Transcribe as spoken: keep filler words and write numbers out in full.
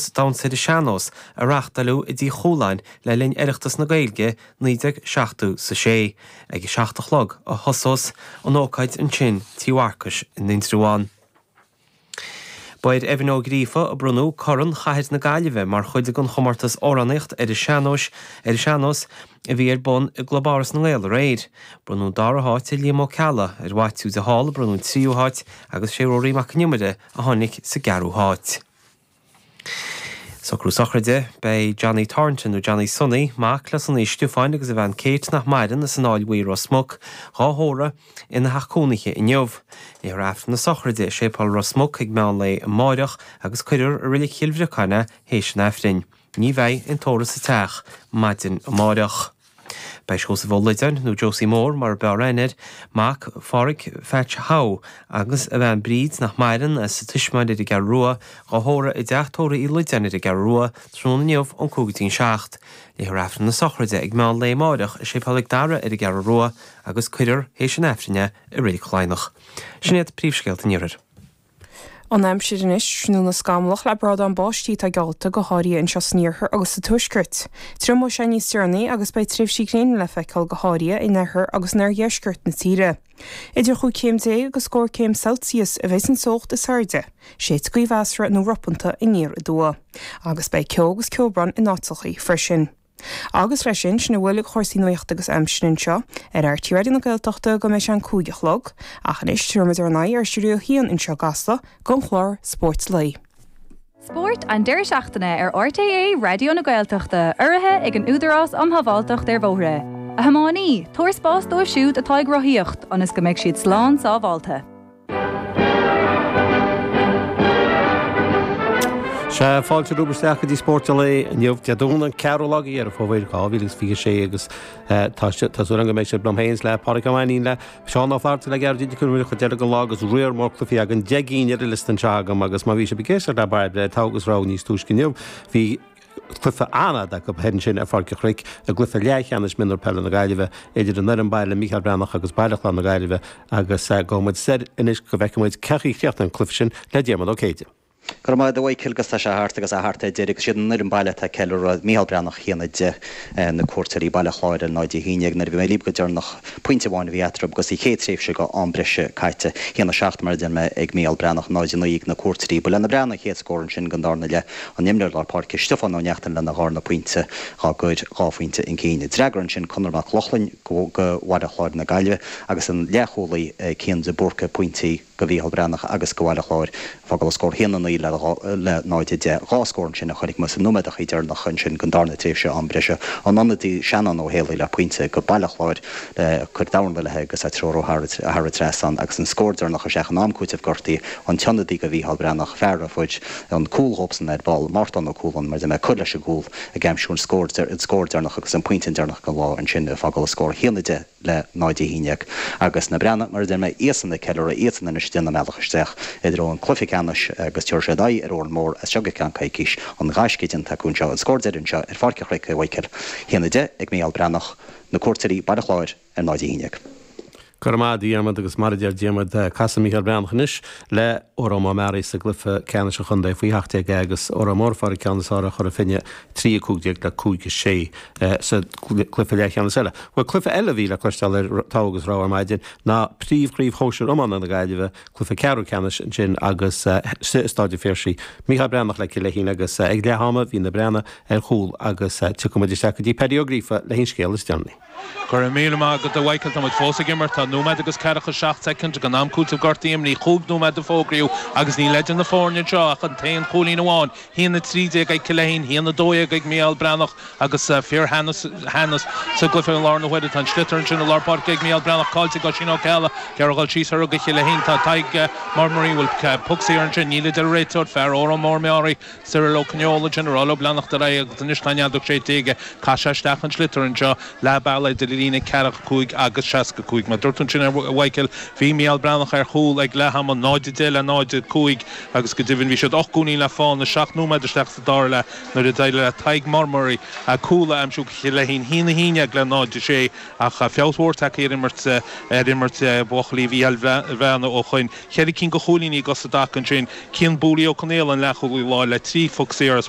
chomórtas Damhsa ar an Sean-Nós a reáchtáladh i dTí Chualáin le linn Oireachtas na Gaeilge naoi déag seachtó is a sé. Ag a seacht a chlog a thosós an ócáid ansin Tí Mharcais in Indreabhán. Ba ar Evan Ó Gríofa a bronnadh Corn Chathair na Gaillimhe mar chuid den chomórtas amhránaíocht ar an sean-nós ar an sean-nós a bhí ar bun i gClub Áras na nGael aréir. Bronnadh an dara háit ar Liam Ó Ceallaigh, ar Mhaitiú de Hál a bronnadh an tríú háit agus sé Rory Mac an Iomaire a tháinig sa gceathrú háit. Socrú sochraide, beidh Johnny Thornton nó Johnny Sonny, mac le Sonny Stiofáin agus a bhean Kate nach maireann as an Fháil Bhuí Ros Muc, dhá thórramh ina theach cónaithe inniu. Léifear Aifreann na sochraide i Séipéal Ros Muc ag meán lae amáireach agus cuirfear i Reilig Chill Bhriocáin é théis an Aifrinn. Ní bheidh aon tórramh sa teach maidin amáireach. Beidh Seosamh Ó Loideáin, nó Josie Mór mar ab fhearr aithne air, mac Pháraic Phatch Howe agus a bhean Bríd nach maireann, as an Tismeáin ar an gCeathrú Rua, dhá thórramh i dteach tórraimh Uí Loideáin ar an gCeathrú Rua tráthnóna inniu ón cúig go dtí an seacht. Léifear Aifreann na sochraide ag meán lae amáireach i Séipéal Mhic Dara ar an gCeathrú Rua agus cuirfear théis an Aifrinn é i Reilig Laighneach. Sin iad príomhscéalta an Iarthair. An aimsir anois, tráthnóna scamallach le brádán báistí atá geallta go háirithe anseo san iarthar agus sa tuaisceart. Triomóidh sé níos deireanaí agus beidh tréimhsí gréine le feiceáil go háirithe in oirthear agus in oirdheisceart na tíre. Idir chúig chéim déag agus scór céim Celsius a bheidh an teocht is airde, séidfidh gaoth mheasartha nó ropanta aniar aduaidh. Agus beidh ceo agus ceobhrán in áiteachaí freisin. Agus leis sin, sin a bhfuil de chúrsaí nuachta agus aimsire anseo ar RTÉ Raidió na Gaeltachta go mbeidh sé an cúig a chlog, ach anois tabharfaimid ár n-aghaidh ar Stiúideo a haon anseo i gCasla don chlár Spórt Lae. Spórt an deireadh seachtaine ar RTÉ Raidió na Gaeltachta, urraithe ag an Údarás um Shábháilteacht ar Bhóithre. A thiománaí, tabhair spás dóibh siúd atá ag rothaíocht, ionas go mbeidh siad slán sábháilte. Sea, fáilte romhaibh isteach go dtí Spórt an Lae inniu, Dé Domhnaigh an ceathrú lá de Dheireadh Fómhair dhá mhíle is fiche a sé agus tá tá súil agam go mbeidh sibh liom féin is le Pádraig Ó Mainnín, le Seán Ó Flatharta le Gearóid Ó Conchúir chuid deireadh den lá agus riar mór cluichí againn, deich gcinn ar an liosta anseo agam agus má bhí sibh ag éisteacht le Bairbre ar Togha agus Rogha níos túisce inniu, bhí cluiche an-fhada acu thoir ansin ar Pháirc an Chnoic i gcluiche leathcheannais mionúr peile na Gaillimhe idir an fhoireann baile Mícheál Breathnach agus Baile Chláir na Gaillimhe agus gabhfaidh muid soir anois go bhfeicfidh muid cén chaoi a chríochnaigh an cluiche sin le Diarmuid Ó Céide. Go raibh maith agat a Mhichael agus tá sé thart agus é thart ar deireadh agus siad an fhoireann baile atá ag ceiliúradh Mícheál Breathnach a haon a deich na cuairteoirí Baile Chláir ar náid a haon déag nuair a bhí mé libh go deireanach pointe amháin a bhí eatarthu agus an chéad tréimhse go am breise caite haon a seacht mar a deir mé ag Mícheál Breathnach náid a naoi ag na cuairteoirí Ba le na Breathnaigh an chéad scór ansin don darna leath an t-imreoir lár páirce Stiofán Ó Neachtain lena dharna pointe dhá gcur dhá phointe chun cinn. D'fhreagair ansin Conor Mac Lochlainn go Bhaile Chláir na Gaillimhe agus an leathchúlaí Cian de Búrca pointí go Mhícheál Breathnach agus go Bhaile Chláir. Fágáil an scór haon a naoi le náid a deich. Dhá scór ansin a chonaic muid sna nóiméadachaí deireanacha ansin den darna tréimhse am breise. An ionadaí Seanán Ó Héalaí le pointe go Baile Chláir le cur dorn eile agus é treorú thar an trasnán agus an scór deireanach isteach in am cúitimh gortaithe an t-ionadaí go Mhícheál Breathnach, fear an phoirt, an cúl dhóibhsan ar ball, Mártán Ó Cualáin, mar a deir mé, ag cur leis an gcúl ag aimsiú an scór deireanach agus an pointe deireanach den lá ansin ag fágáil an scór haon a deich. le náid a haon déag. Agus na Breathnaigh, mar a deir mé, iadsan ag ceiliúradh, iadsan anois ag déanamh a mbealach isteach i dtreo an cluiche ceannais agus tabharfaidh siad aghaidh ar Órán Mór as seo go ceann coicís. An gaisce déanta acu anseo, an scór deiridh anseo ar Pháirc an Chnoic, a Mhichael. Haon a deich ag Mícheál Breathnach, na cuairteoirí, Baile Chláir, ar náid a haon déag. Go raibh maith agat, a Dhiarmaid, agus mar a deir Diarmaid, casfaidh Mícheál Breathnach anois le Órán Mór Meáraí sa gcluiche ceannais an chontae faoi sheacht déag agus Órán Mór ag fáil an ceann is fearr a chur Finne trí a cúig déag le cúig a sé sa gcluiche leathcheannais eile. Bhuel, cluiche eile a bhí le cloisteáil ar Togha agus Rogha ar maidin ná Príomhchraobh Shóisir Iomána na Gaillimhe, cluiche ceathrú ceannais ansin agus sa Staid an Phiarsaigh. Mícheál Breathnach le Cill Leithín agus ag leath ama bhí na Breathnaigh ar chúl agus tiocfaidh muid isteach go dtí Paddy Ó Gríofa le haon scéal is deireanaí. Go raibh míle maith agat a Mhichael. Tá muid fós ag imirt. Tá nóiméad agus ceathracha seacht soicind den am cúitimh gortaithe imithe. Chúig nóiméad a fógraíodh agus níl idir na foirne anseo ach an t-aon chúilín amháin. Haon a trí déag ag Cill Leithín, haon a dó dhéag ag Mícheál Breathnach agus fíor-theannas sa gcluiche i láthair na huaire. Tá an sliotar ansin i lár páirce ag Mícheál Breathnach, caillte ag Oisín Ó Ceallaigh. Ag iarraidh dul síos orthu do Chill Leithín. Tá Tadhg Murmurray, bhfuil poc saor ansin? Níl a deir an réiteoir. Fear Órán Mór Meáraí, Cyril Ó Coineola ansin ag rá leo leanacht ar aghaidh agus anois tá an fheadóg séidte aige. Caith sé isteach an sliotar anseo leath bealaigh idir an líne ceathracha cúig agus seasca cúig. Mar a dúirt tú ansin a Mhichael, bhí Mícheál Breathnach ar chúl ag leath ama, náid a deich le náid a cúig agus go deimhin bhí siad ocht gcúilín le fána, seacht nóiméad isteach sa dara leath nuair a d'éirigh le Tadhg Murmurray cúl a aimsiú do Chill Leithín, haon a haon déag le náid a sé ach feabhas mhór tagtha ar imirt ar imirt bhuachaillí Mhícheáil Bhreathnaigh ó shoin. Ceithre cinn de chúilíní acu sa dtaca ansin, Cian Booley Ó Conaola an leathchúlaí láir le trí phoc saor as